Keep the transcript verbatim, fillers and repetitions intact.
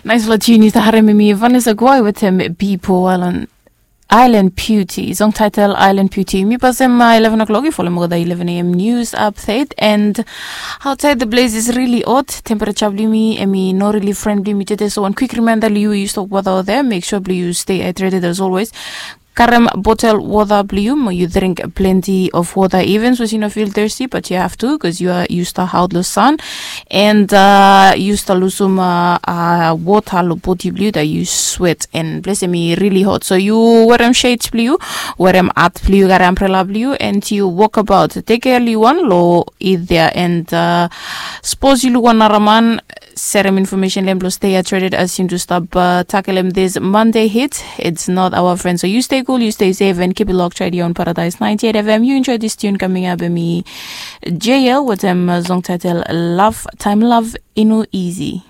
Naispela tune yu stap harim em i Vanessa Quai wetem Bipo Island, Island Beauty, song title Island Beauty. Mi pasem eleven o'clock, yu folem olgeta eleven a.m. news update. And outside the place is really hot. Temperature blong yumi em i no really friend blong yumi today. So one quick reminder, yu yu stop water out there, make sure blong yu stay hydrated as always. Karem botel wota blong yu mo yu dring plenti of wota, even sapos yu no fil thirsty, but yu have to, bikos yu are yu stap aot long san. And uh, yu stap lusum uh, uh, wota long bodi blong yu dat yu swet, and ples em i really hot. So yu werem shades blong yu, werem hat blong yu, karem ambrela blong yu, and yu walk about. Tek care long yu wan long it there. And uh, sapos yu luk wan nara man, serem information long em blong stay hydrated as yumi tu stap uh, tackle em this Monday heat. It's not our friend. So you stay cool, you stay safe, and keep it locked right here on Paradise ninety-eight F M. You enjoy this tune coming up, em i J L wetem uh, song title Love Time Love Inu Easy.